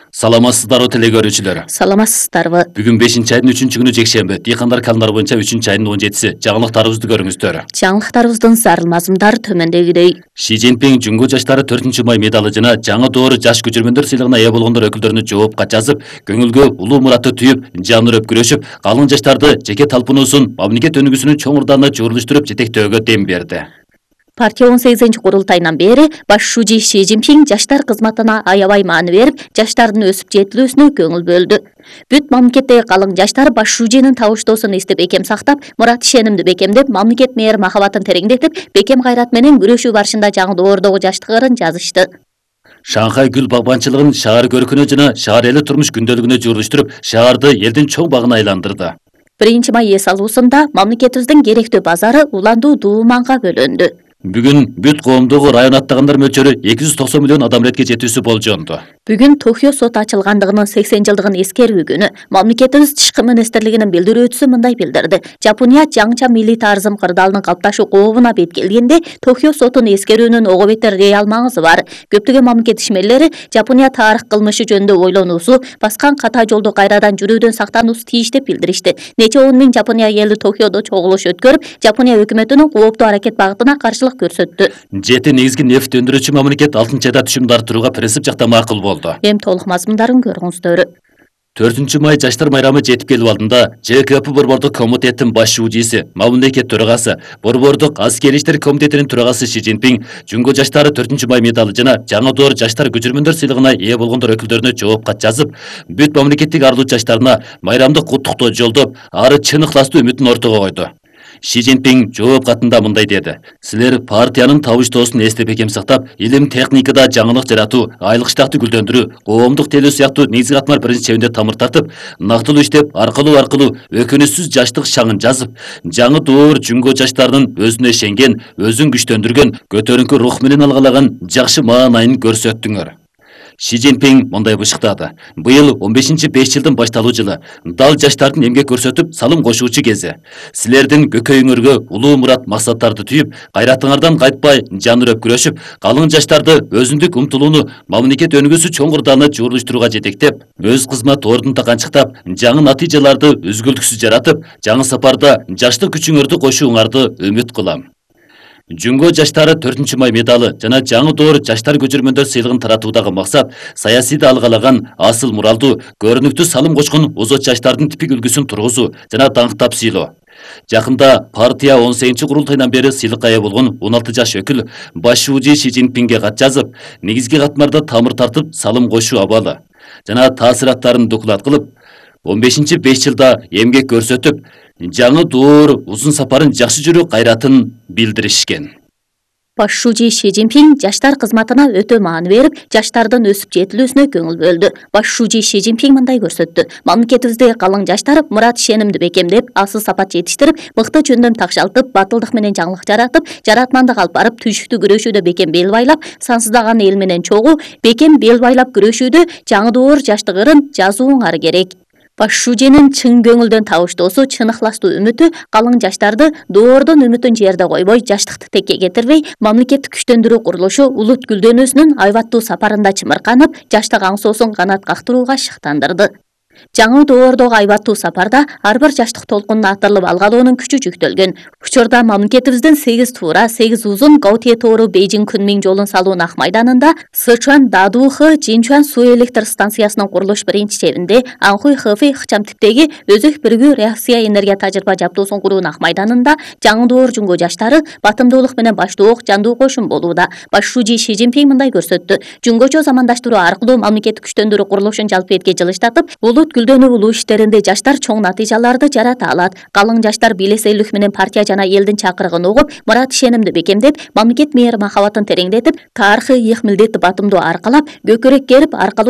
Саламатсыздарбы теле көрүүчүлөр. Саламатсыздарбы. Бүгүн 5-айдын 3-күнү жекшемби. Дыйкандар календарь боюнча 3-айдын 17-си. Жаңылыктарыбызды көрүңүздөр. Жаңылыктарыбыздын зарыл мазмундары төмөндөгүдөй. Ши Цзиньпин Жүнгө жаштары 4-май медалы жана жаңы доору жаш көчүрмөндөр сыйлыгына ээ болгондор өкүлдөрүнө жоопка жазып, көңүлгө улуу муратты түйүп, жан үрөп күрөшүп, калың жаштарды жеке талпынуусун мамлекет өнүгүүсүнүн чоң ырдана жөрүлүштүрүп жетектөөгө дем берди. Партия 18-курултайынан бери баш шужи Ши Цзиньпин жаштар кызматына аябай маани берип, жаштардын өсүп жетилүүсүнө көңүл бөлдү. Бүт мамлекеттеги калың жаштар баш шужинин табыштоосун эстеп бекем сактап, мурат ишенимди бекемдеп, мамлекет мээр махабатын тереңдетип, бекем кайрат менен күрөшүү барышында жаңы доордогу жаштыгын жазышты. Шанхай гүл багбанчылыгын шаар көркүнө жана шаар эли турмуш күндөлүгүнө журулуштуруп, шаарды элдин чоң багына айландырды. 1-май эс алуусунда мамлекетибиздин керектүү базары уландуу дууманга бөлөндү. Бүгүн бүт коомдогу район аттагандар мөлчөрү 290 миллион адам ретке жетүүсү болжонду. Бүгүн Токио соту ачылгандыгынын 80 жылдыгын эскерүү күнү. Мамлекетибиз тышкы министрлигинин билдирүүчүсү мындай билдирди. Жапония жаңыча милли тарзым кырдаалынын калыпташуу кообуна бет келгенде Токио сотун эскерүүнүн ого бетер реал маңызы бар. Көптөгөн мамлекет ишмерлери Жапония тарых кылмышы жөнүндө ойлонуусу, баскан ката жолду кайрадан жүрүүдөн сактануусу тийиш деп билдиришти. Нече 10 миң Жапония эли Токиодо чогулуш өткөрүп, Жапония өкмөтүнүн кооптуу аракет багытына каршылык көрсөттү. Жети негизги нефт өндүрүүчү мамлекет 6-айда түшүмдү арттырууга принцип жакта макул болду. Эми толук мазмундарын көрүңүздөр. 4-май жаштар майрамы жетип келип алдында ЖКП борбордук комитеттин баш шужиси, мамлекет төрагасы, борбордук аскери иштер комитетинин төрагасы Ши Цзиньпин Жүнгө жаштары 4-май медалы жана жаңы доор жаштар көчүрмөндөр сыйлыгына ээ болгондор өкүлдөрүнө жоопка жазып, бүт мамлекеттик арлуу жаштарына майрамдык куттуктоо жолдоп, ары чын ыхластуу үмүтүн ортого койду. Ши Цзиньпин жооп катында мындай деди: "Силер партиянын табыштоосун эстеп бекем сактап, илим техникада жаңылык жаратуу, айлык штатты гүлдөндүрүү, коомдук телөө сыяктуу негизги катмар принциптеринде тамыр тартып, нактылуу иштеп, аркылуу өкүнүчсүз жаштык шаңын жазып, жаңы доор Жүнгө жаштарынын өзүнө ишенген, өзүн күчтөндүргөн, көтөрүңкү рух менен алгалаган жакшы маанайын көрсөттүңөр." Ши Цзиньпин мындай бышыктады: "Быйыл 15-5 жылдын башталуу жылы, дал жаштардын эмгек көрсөтүп, салым кошуучу кези. Силердин көкөйүңөргө улуу мурат максаттарды түйүп, кайратыңардан кайтпай жан үрөп күрөшүп, калың жаштарды өзүндүк умтулууну мамлекет өнүгүүсү чоң ырдана журулуштурууга жетектеп, өз кызмат ордун таканчыктап, жаңы натыйжаларды үзгүлтүксүз жаратып, жаңы сапарда жаштык күчүңөрдү кошууңарды үмүт кылам." Жүнгө жаштары 4-май медалы жана жаңы доор жаштар көчүрмөндөр сыйлыгын таратуудагы максат саясийде алгалаган асыл муралдуу, көрүнүктүү салым кочкон озот жаштардын типик үлгүсүн тургузуу жана даңктап сыйлоо. Жакында партия 18-курултайынан бери сыйлыкка ээ болгон 16 жаш өкүл баш шужи Ши Цзиньпинге кат жазып, негизги катмарда тамыр тартып, салым кошуу абалы жана таасираттарын доклад кылып, 15-5 жылда эмгек көрсөтүп, жаңы доор узун сапарын жакшы жүрүү кайратын билдиришкен. Баш шужи Ши Цзиньпин жаштар кызматына өтө маани берип, жаштардын өсүп жетилүүсүнө көңүл бөлдү. Баш шужи Ши Цзиньпин мындай көрсөттү: "Мамлекетибиздеги калың жаштар мурат ишенимди бекемдеп, асыл сапат жетиштирип, мыкты жөндөм такшалтып, батылдык менен жаңылык жаратып, жаратмандык алып барып, түйшүктүү күрөшүүдө бекем бел байлап, сансыздаган эл менен чогуу, бекем бел байлап күрөшүүдө жаңы доор жаштык ырын жазууңар керек." Баш шужинин чын көңүлдөн табыштоосу, чын ыхластуу үмүтү калың жаштарды доордун үмүтүн жерде койбой, жаштыкты текке кетирбей, мамлекеттик күчтөндүрүү курулушу улут гүлдөнүүсүнүн айбаттуу сапарында чымырканып, жаштык аңсоосун канат кактырууга шыктандырды. Жаңы доордогу айбаттуу сапарда ар бир жаштык толкунуна атырылып алгалоонун күчү жүктөлгөн. Учурда мамлекетибиздин 8 туура, 8 узун Гаутие тоору Бейжиң Күнмиң жолун салуунун ак майданында Сычуан Дадухы Жинчуан суу электр станциясынын курулуш биринчи чебинде, Анхуй Хэфэй ыкчам типтеги өзөк биригүү реакция энергия тажрыйба жабдуусун куруунун ак майданында жаңы доор Жүнгө жаштары батымдуулук менен баштуу жандуу кошун болууда. Баш шужи Ши Цзиньпин мындай көрсөттү: "Жүнгөчө замандаштыруу аркылуу мамлекеттик күчтөндүрүү курулушун жалпы этке жылыштатып, гүлдөнүү улуу иштеринде жаштар чоң натыйжаларды жарата алат. Калың жаштар белесейлик менен партия жана элдин чакырыгын угуп, мурат ишенимди бекемдеп, мамлекет мээр махабатын тереңдетип, тарыхый ыйык милдетти батымдоо аркалап, көкүрөк керип, аркалуу